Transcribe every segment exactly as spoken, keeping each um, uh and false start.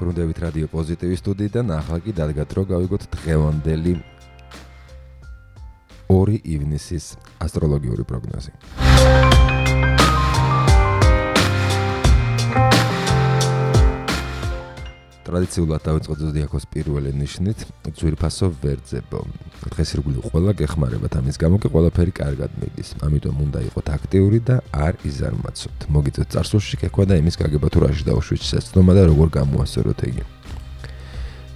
დაბრუნდებით რადიო პოზიტივის სტუდიიდან, ახლა კი დადგათ რომ გავიგოთ დღევანდელი ორი ივნისის ასტროლოგიური პროგნოზი. ტრადიციულად დავიწყოთ ზოდიაქოს პირველი ნიშნით, ძვირფასო ვერძებო. დღეს ირგვლივ ყველა გეხმარებათ, ამის გამო კი ყველაფერი კარგად მიდის. ამიტომ უნდა იყოთ აქტიური და არ იზარმაცოთ. მოგიწევთ წარსულში გექვა და იმის გაგება თუ რაში დაუშვით შეცდომა და როგორ გამოასწოროთ იგი.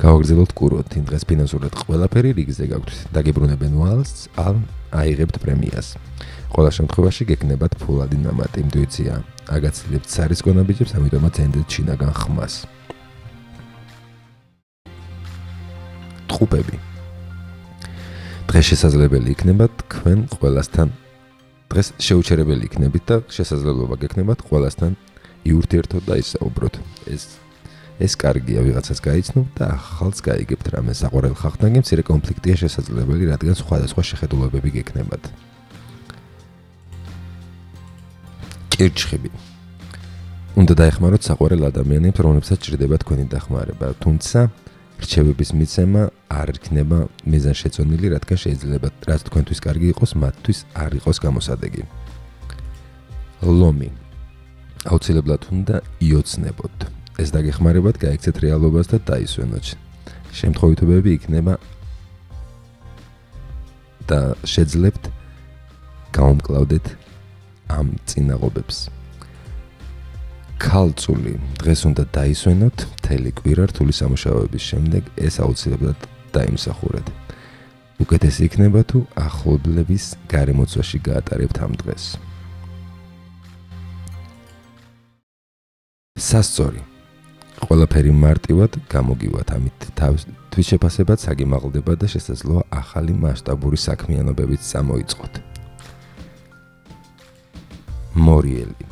გავაგრძელოთ კურვოთ, იმ დღეს ფინანსურად ყველაფერი რიგზე გაგვთ. დაგიბრუნებენ ვალს, ან აიღებთ პრემიას. ყველა შემთხვევაში გეკნებათ ფულადი ნამატი, ინტუიცია. აგაცილებთ სარისკო ბიჭებს, ამიტომაც ენდეთ შინაგან ხმას. ტყუპები. დღეს შესაძლებელი იქნება თქვენ ყველასთან დღეს შეუჩერებელი იქნებით და შესაძლებლობა გექნებათ ყველასთან იურთიერთოთ და ისაუბროთ. ეს ეს კარგია, ვიღაცას გაიცნობ და ახალს გაიგებთ რამე. საყვარელ ხალხთან მცირე კონფლიქტია შესაძლებელი, რადგან სხვადასხვა შეხედულებები გექნებათ. კირჩხიბი. უნდა დაეხმაროთ საყვარელ ადამიანებს, რომლებსაც ჭირდება თქვენი დახმარება, თუმცა რჩევების მიცემა არ იქნება მიზანშეწონილი, რადგან შეიძლება რაც თქვენთვის კარგი იყოს, მათთვის არ იყოს გამოსადეგი. ლომი. აუცილებლად უნდა იოცნებოთ. ეს დაგეხმარებათ, გაიქცეთ რეალობას და დაისვენოთ. შემთხვევითობები იქნება და შეძლებთ გაუმკლავდეთ ამ წინაღობებს. ქალწული. დღეს უნდა დაისვენოთ მთელი კვირა რთული სამუშაოების შემდეგ, ეს აუცილებლად დაიმსახურეთ. უკეთესი იქნება თუ ახლობლების გარემოცვაში გაატარებთ ამ დღეს. სასწორი. ყველაფერი მარტივად გამოგივათ, ამით თავის შეფასებად საგიმაღლდება და შესაძლოა ახალი მასშტაბური საქმიანობებიც წამოიწყოთ. მორიელი.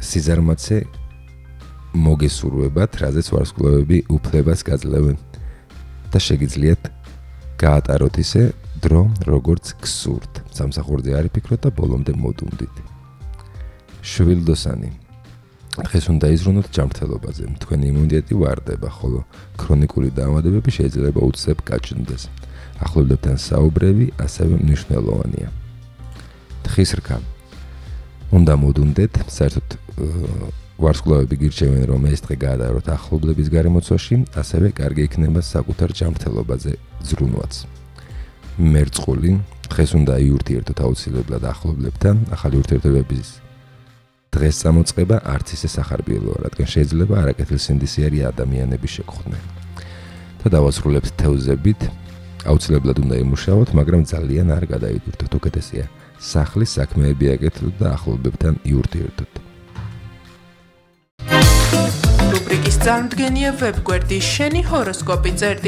სიზარმაცე მოგესურვებათ, რაზეც ვარსკვლავები უფლებას გაძლევენ და შეგიძლიათ გაატაროთ ისე დრო, როგორც გსურთ. სამსახურზე არ იფიქროთ და ბოლომდე მოდუნდით. შვილდოსანი. დღეს უნდა იზრუნოთ ჯანმრთელობაზე. თქვენი იმუნიტეტი ვარდება, ხოლო ქრონიკული დაავადებები შეიძლება უცებ გაჩნდეს. ახლობლებთან საუბრები ასევე მნიშვნელოვანია. თხის რქა. უნდა მოდუნდეთ, საერთოდ ვარსკვლავები გირჩევენ, რომ ეს დღე გაატაროთ ახლობლების გარემოცვაში, ასევე კარგი იქნება საკუთარ ჯანმრთელობაზე ზრუნვაც. მერწყული. დღეს უნდა იურთიერთოთ აუცილებლად ახლობლებთან, ახალი ურთიერთობების დღეს წამოწყება არც ისე სახარბიელოა, რადგან შეიძლება არაკეთილსინდისიერი ადამიანები შეგხვდნენ. და დავასრულებთ თევზებით. აუცილებლად უნდა იმუშაოთ, მაგრამ ძალიან არ გადაიდურთოთ. უკეთესია სახლის საქმეები აკეთოთ და ახლობლებთან იურთიერთოთ. რუბრიკის წარმდგენია ვებგვერდი შენი ჰოროსკოპი წერტილი